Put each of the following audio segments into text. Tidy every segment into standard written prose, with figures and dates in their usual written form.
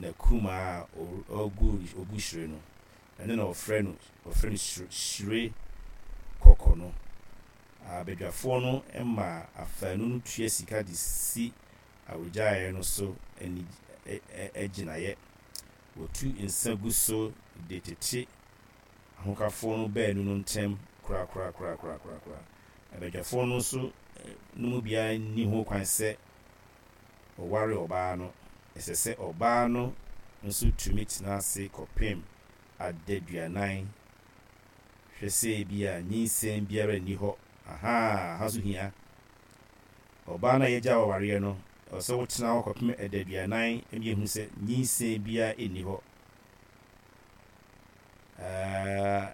n'akumaa a ɔgu ɔgu hyire no. Ɛno na wɔfrɛ no wɔfrɛ no hyire kɔkɔ no. Abadwafoɔ no ma afaanu no tua sika de si awaregyaeɛ no so ani agyinaeɛ. Wɔtu nsa gu so de tete ahokafoɔ no baanu no ntam korakorakorakorakora. Abadwafoɔ no nso no mu biara nni ho kwan sɛ ɔware ɔbaa no. Ɛsɛ sɛ ɔbaa no nso tumi tena ase kɔpem adaduanan hwɛ sɛ ebia nyinsɛn biara nni hɔ. Ahaa, aha nso hia. Ɔbaa no a yɛagyaa wo awareɛ no, ɛwɔ sɛ wotena hɔ kɔpem adaduanan ma yɛhu sɛ nyinsɛn biara nni hɔ. Ɛɛ,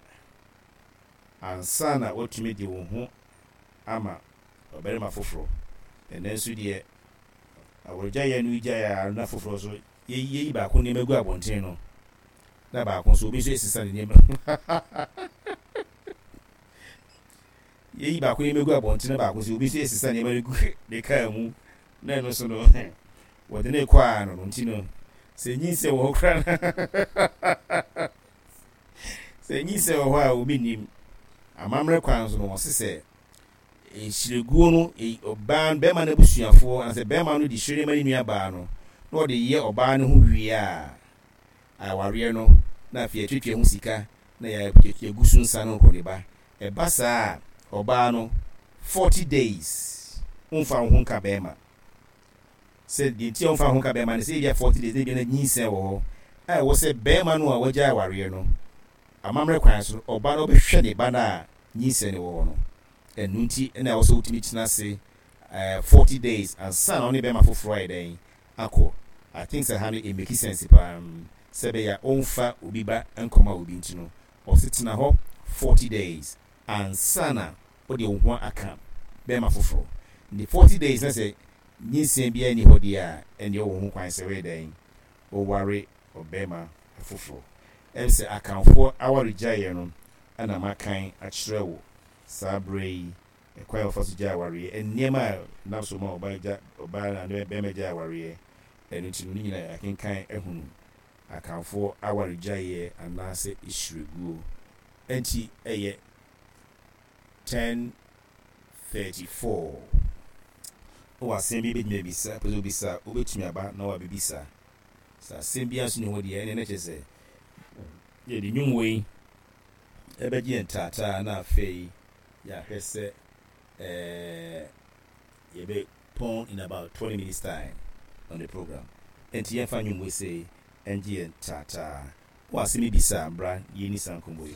ansa na woatumi de wo ho ama ɔbarima foforɔ. Ɛnnɛ nso deɛ, awaregyaeɛ no gyae a na foforɔ nso, yɛyi baako nneɛma gu abɔnten no, na baako nso, obi nso resesa ne nneɛma. Yɛyi baako nneɛma gu abɔnten na baako nso, obi nso resesa nneɛma no gu ne kaa mu, na ɛno nso no, wɔde no rekɔ a no no nti no, sɛ nyinsɛn wɔ hɔ koraa na sɛ nyinsɛn wɔ hɔ a obi nnim. Amammerɛ kwan so no, wɔse sɛ Hyireguo no, ɔbaa no, bɛrima no abusuafoɔ, anaasɛ bɛrima no de hyire no ma ne nua baa no, na ɔde yɛ ɔbaa no ho wie a, awareɛ no, na afei yɛatuatua ho sika, na yɛagu so nsa no nkɔ ne ba. Ɛba saa a, ɔbaa no, 40 days, womfa wo ho nka bɛrima. Sɛ deɛ nti a womfa wo ho nka bɛrima no, sɛ ebia 40 days, na ebia na nyinsɛn wɔ hɔ, a ɛwɔ sɛ bɛrima no a wagyae awareɛ no, amammerɛ kwan so no, ɔba no bɛhwɛ ne ba no a nyinsɛn no wɔ hɔ no. Ɛno nti na ɛwɔ sɛ wotumi tena ase 40 days ansa na wo ne bɛrima foforɔ ayɛ dɛn akɔ. I think sɛ ha no it make sense paa sɛ ɛbɛyɛ a ɔmfa obi ba nkɔma obi nti no ɔse tena hɔ 40 days ansa na wode wo ho aka bɛrima foforɔ. Nti 40 days na sɛ nyinsɛn biara nni hɔ deɛ a ɛnneɛ wowɔ ho kwan sɛ woyɛ dɛn woware ɔbarima foforɔ. Ɛm sɛ Akanfoɔ awaregyaeɛ no na makan akyerɛ wo saa berɛ yi, ɛkwan a wɔfa so gyae awareɛ, nneɛma a ɛnam so ma ɔbaa gya ɔbaa anaa barima gyae awareɛ, ɛno nti no ne nyinaa yɛakenkan ahunu Akanfoɔ awaregyaeɛ anaasɛ hyireguo. Ɛnti ɛyɛ 10:34. Wowɔ asɛm bi bɛtumi abisa, pɛ sɛ wobisa a, wobɛtumi aba na wabɛbisa. Sɛ asɛm biara nso nni hɔ deɛ, ɛnneɛ na kyerɛ sɛ yɛde nnwom wei ɛbɛgye yɛn taataa na afei yɛahwɛ sɛ ɛɛ yɛbɛpɔn in about 20 minutes time on the program. Enti yɛmfa nnwom wei sei ɛngye yɛn taataa. Wowɔ asɛm bi bisa a, bra yɛnni saa nkɔmmɔ yi.